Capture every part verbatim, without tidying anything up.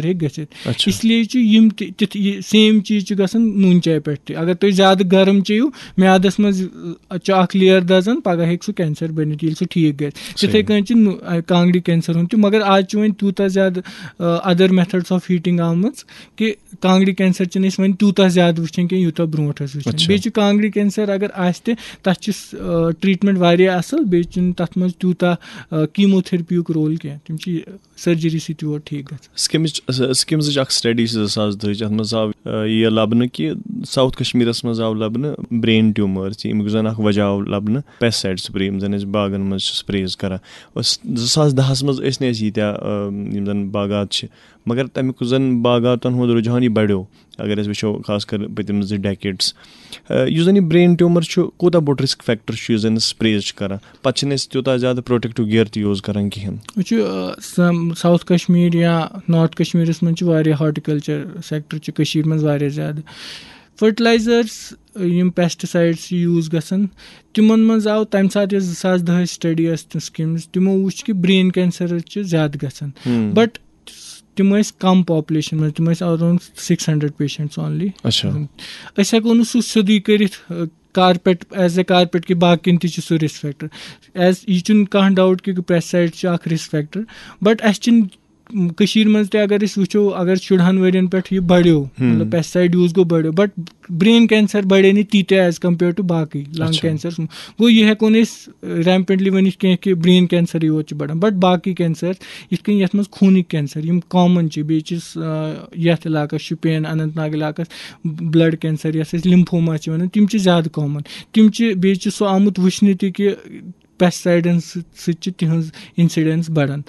ہیٚکہِ گٔژھِتھ۔ اچھا۔ اس لیے چھُ یِم تہِ تِتھ، یہِ سیم چیٖز چھُ گژھان نوٗن چاے پٮ۪ٹھ تہِ۔ اگر تُہۍ زیادٕ گرم چیٚیِو، میادَس منٛز، ٲ، چھُ اکھ layer دَزان، پگاہ ہیٚکہِ سُہ cancer بٔنِتھ، ییٚلہِ سُہ ٹھیٖک گژھِ۔ تِتھَے صحیح۔ کٔنۍ چھِ نُ-، آ، کانٛگرِ cancer ہُنٛد تہِ، مگر آز چھُ وۄنۍ تیوٗتاہ زیادٕ، ٲ، other methods of heating آمٕژ کہِ کانٛگرِ cancer چھِنہٕ أسۍ وۄنۍ تیوٗتاہ زیادٕ وٕچھان کینٛہہ، یوٗتاہ برونٛٹھ ٲسۍ وٕچھان۔ اچھا۔ بیٚیہِ چھُ کانٛگرِ cancer اگر آسہِ تہِ، تَتھ چھِ س-، ٲ، treatment واریاہ اَصٕل، بیٚیہِ چھُنہٕ تَتھ منٛز تیوٗتاہ، ٲ، chemotherapy یُک role کینٛہہ۔ تِم چھِ surgery سۭتۍ یور ٹھیٖک گژھان۔ سِکِمٕچ، س-، سِکِمزٕچ اَکھ study چھِ زٕ ساس دَہٕچ، اَتھ منٛز آو، ٲ، یہِ لَبنہٕ کہِ South کشمیٖرَس منٛز آو لَبنہٕ brain tumor، ییٚمیُک زَن اَکھ وجہ آو لَبنہٕ pesticide spray، یِم زَن أسۍ باغَن منٛز چھِ sprays کَران۔ أسۍ، زٕ ساس دَہَس منٛز ٲسۍ نہٕ اَسہِ ییٖتیٛاہ، ٲ، یِم زَن باغات چھِ، مگر تَمیُک زَن باغاتَن ہُنٛد رُجحان یہِ بَڑیو۔ اگر أسۍ وٕچھو، خاص کر پٔتِم زٕ decades، ٲ، یُس زَن یہِ brain tumor چھُ، کوٗتاہ بوٚڑ risk factor چھُ یُس زَن sprays چھِ کَران؟ پَتہٕ چھِنہٕ أسۍ تیوٗتاہ زیادٕ protective gear تہِ use کَران کِہیٖنۍ۔ وٕچھِو، ٲ، سم-، South کشمیٖر یا North کشمیٖرَس منٛز چھِ واریاہ horticulture sector چھُ کٔشیٖرِ منٛز واریاہ زیادٕ۔ Fertilizers، یِم pesticides چھِ use گژھان، تِمَن منٛز آو تَمہِ ساتہٕ یۄس زٕ ساس دَہٕچ study ٲس تِم schemes، تِمو وٕچھ کہِ brain cancer چھِ زیادٕ گژھان۔ ہُم۔ But تِم ٲسۍ کَم population منٛز، تِم ٲسۍ around six hundred patients only۔ اچھا۔ أسۍ ہٮ۪کو نہٕ سُہ سیوٚدُے کٔرِتھ، ٲ، carpet، as a carpet کہِ باقیَن تہِ چھُ سُہ risk factor۔ As یہِ چھُنہٕ کانٛہہ doubt کہِ pesticide چھُ اَکھ risk factor، but اَسہِ چھِنہٕ، م، کٔشیٖرِ منٛز تہِ اگر أسۍ وٕچھو، اگر شُرہَن ؤرِیَن پٮ۪ٹھ یہِ بڑیو، ہُم۔ مطلب pesticide use گوٚو بڑیو، but brain cancer بڑے نہٕ تیٖتیٛاہ as compare to باقٕے lung اچھا۔ Cancers۔ گوٚو یہِ ہٮ۪کو نہٕ أسۍ rampantly ؤنِتھ کینٛہہ کہِ brain cancer یوت چھُ بڑان، but باقٕے cancer یِتھ کٔنۍ یَتھ منٛز خوٗنٕکۍ cancer یِم common چھِ، بیٚیہِ چھِ س-، آ، یَتھ علاقَس شُپین، اننت ناگ علاقَس blood cancer یَتھ أسۍ lymphoma چھِ وَنان، تِم چھِ زیادٕ common۔ تِم چھِ، بیٚیہِ چھِ سُہ آمُت وٕچھنہٕ تہِ کہِ pesticidesن سۭتۍ، سۭتۍ چھِ تِہٕنٛز incidence بڑان۔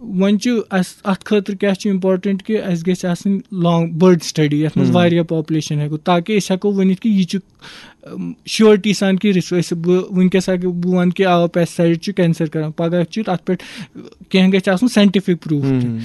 وۄنۍ چھُ اَسہِ اَتھ خٲطرٕ کیٛاہ چھُ important کہِ اَسہِ گژھِ آسٕنۍ long، بٔڑ study یَتھ منٛز ہُم۔ واریاہ population ہٮ۪کو، تاکہِ أسۍ ہٮ۪کو ؤنِتھ کہِ یہِ چھُ، أم، surety سان کہِ رِس-، أسۍ، بہٕ وٕنکیٚس اگر بہٕ وَنہٕ کہِ آ pesticide چھُ cancer کران، پگاہ چھُ اَتھ پٮ۪ٹھ کینٛہہ گژھِ آسُن scientific proof تہِ۔ ہُم۔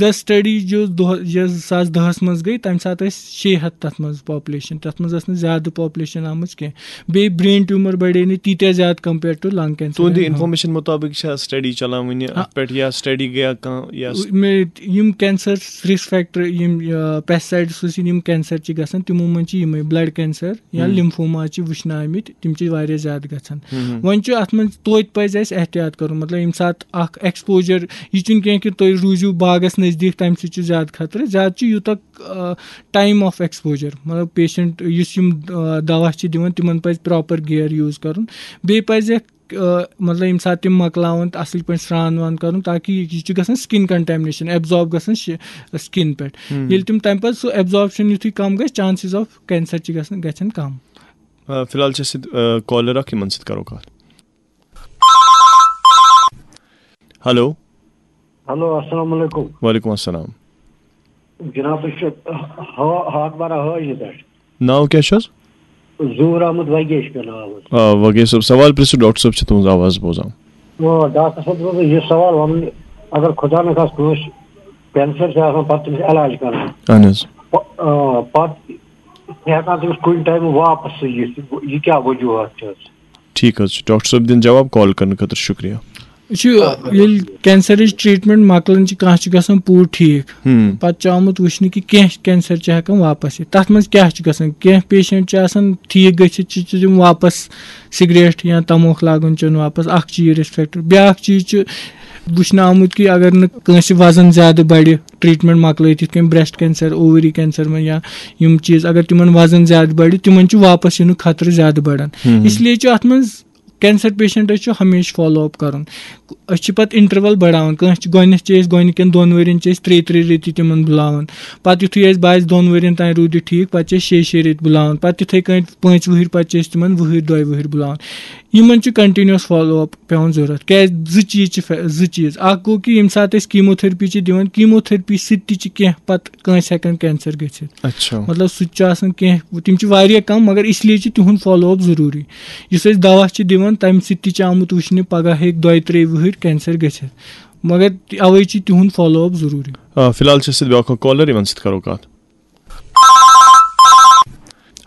The study جو دۄہ-، یۄس زٕ ساس دَہَس منٛز گٔے، تَمہِ ساتہٕ ٲسۍ شیٚیہِ ہَتھ تَتھ منٛز population، تَتھ منٛز ٲس نہٕ زیادٕ population آمٕژ کینٛہہ۔ بیٚیہِ brain tumor بڑے نہٕ تیٖتیٛاہ زیادٕ compare to lung cancer۔ تُہٕنٛدِ information مُطٲبِق چھا study چلان وٕنہِ آ۔ اَتھ پٮ۪ٹھ، یا study گٔیا کانٛہہ، یا س- مےٚ، یِم cancer risk factor، یِم، آ، pesticides سۭتۍ یِم cancer چھِ گژھان، تِمو منٛز چھِ یِمے blood cancer یا ہم۔ Lymphoma چھِ وٕچھنہٕ آمٕتۍ، تِم چھِ واریاہ زیادٕ گژھان۔ ہم۔ وۄنۍ چھُ اَتھ منٛز توتہِ پَزِ اَسہِ احتیاط کَرُن، مطلب، ییٚمہِ ساتہٕ اَکھ exposure، یہِ چھُنہٕ کینٛہہ کہِ تُہۍ روٗزِو باغَس نزدیٖک، تَمہِ سۭتۍ چھُ زیادٕ خطرٕ۔ زیادٕ چھُ یوٗتاہ، آ، time of exposure، مطلب، patient یُس یِم، آ، دوا چھِ دِوان، تِمَن پَزِ proper gear use کَرُن۔ بیٚیہِ پَزِ آ، مطلب، ییٚمہِ ساتہٕ تِم مۄکلاوَن تہٕ اَصٕل پٲٹھۍ سرٛان وان کَرُن، تاکہِ یہِ، یہِ چھُ گژھان skin contamination، absorb گژھان شِ-، skin پٮ۪ٹھ۔ ہم۔ ییٚلہِ تِم تَمہِ پَتہٕ سُہ absorption یُتھُے کَم گژھِ، chances of cancer چھِ گژھان، گژھن کَم۔ آ، فی الحال چھِ اَسہِ سۭتۍ، آ، caller اَکھ، یِمَن سۭتۍ کَرو کَتھ۔ ہیلو۔ ہیلو، السلام علیکم۔ وعلیکم السلام۔ جناب، أسۍ چھِ ہا-، ہاکھ بارہ حٲجی پٮ۪ٹھ۔ ناو کیٛاہ چھُ حظ؟ ظہور احمد وگیش مےٚ ناو حظ۔ آ، وگیش صٲب، سوال پرٛژھِو، ڈاکٹر صٲب چھِ تُہٕنٛز آواز بوزان۔ آ، ڈاکٹر صٲب، دوٚپ یہِ سوال وَنُن، اگر خۄدا نخواستہٕ کٲنٛسہِ cancer چھُ آسان، پَتہٕ تٔمِس علاج کَرُن۔ اَہَن حظ۔ پَ-، آ، پَتہٕ چھِ ہٮ۪کان تٔمِس کُنہِ ٹایمہٕ واپَس سُہ یِتھ، یہِ کیٛاہ وجوٗہات چھِ حظ؟ ٹھیٖک حظ چھُ، ڈاکٹر صٲب دِن جواب، call کرنہٕ خٲطرٕ شُکریہ۔ یہِ چھُ، ییٚلہِ cancerٕچ treatment مۄکلان چھِ، کانٛہہ چھُ گژھان پوٗرٕ ٹھیٖک، ہم۔ پَتہٕ چھُ آمُت وٕچھنہٕ کہِ کینٛہہ cancer چھِ ہٮ۪کان واپَس یِتھ۔ تَتھ منٛز کیٛاہ چھُ گژھان؟ کینٛہہ patient چھِ آسان ٹھیٖک گٔژھِتھ، چھِ، چھِ تِم واپَس سگریٹ یا تموکھ لاگُن چیوٚن واپَس، اَکھ چھُ یہِ risk factor۔ بیٛاکھ چیٖز چھُ وٕچھنہٕ آمُت کہِ اگر نہٕ کٲنٛسہِ وزن زیادٕ بڑِ، treatment مۄکلٲیِتھ، یِتھ کٔنۍ breast cancer، ovary cancer منٛز یا یِم چیٖز، اگر تِمن وزن زیادٕ بڑِ، تِمن چھُ واپس یِنُک خطرٕ زیادٕ بڑان۔ ہم۔ اس لیے چھُ اتھ منٛز cancer patientس چھُ ہمیشہِ follow up کرُن۔ أسۍ چھِ پتہٕ interval بڑاوان، کٲنٛسہِ چھِ گۄڈٕنیتھ چھِ أسۍ گۄڈٕنِکٮ۪ن دۄن ؤرین چھِ أسۍ ترٛیٚیہِ ترٛیٚیہِ ریٚتی تِمن بُلاوان، پتہٕ یُتھُے اَسہِ باسہِ دۄن ؤرین تام روٗدِ ٹھیٖک، پتہٕ چھِ أسۍ شیٚیہِ شیٚیہِ ریٚتۍ بُلاوان، پتہٕ تِتھے کٲٹھۍ پانٛژِ وُہٕرۍ پتہٕ چھِ أسۍ تِمن وُہٕرۍ دۄیہِ وُہٕرۍ بُلاوان۔ یِمن چھُ continuous follow up پٮ۪وان ضروٗرت۔ کیٛازِ؟ زٕ چیٖز چھِ فے-، زٕ چیٖز۔ اکھ گوٚو کہِ ییٚمہِ ساتہٕ أسۍ chemotherapy چھِ دِوان، chemotherapy سۭتۍ تہِ چھِ کینٛہہ پتہٕ کٲنٛسہِ ہٮ۪کان cancer گٔژھِتھ۔ اچھا۔ مطلب، سُہ تہِ چھُ آسان کینٛہہ، تِم چھِ واریاہ کم، مگر اس لیے چھِ تِہُنٛد follow up ضروٗری۔ یُس أسۍ دوا چھِ دِوان، تَمہِ سۭتۍ تہِ چھِ آمُت وٕچھنہٕ، پگاہ ہیٚکہِ دۄیہِ ترٛیٚیہِ وُہٕرۍ cancer گٔژھِتھ، مگر اَوَے چھِ تِہُنٛد follow up ضروٗری۔ آ، فی الحال چھِ أسۍ سۭتۍ بیٛاکھ اکھ caller، یِمن سۭتۍ کرو کتھ۔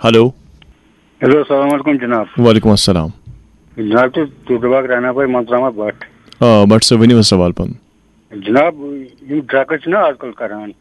ہیلو۔ ہیلو، السلام علیکم جناب۔ وعلیکم السلام۔ جناب، تُہۍ، تُہۍ دُباغ رہنا بھائی منتراما بٹ۔ آ، بٹ صٲب، ؤنِو حظ سوال پنُن۔ جناب، یِم drugs چھِنہ آز کل کران،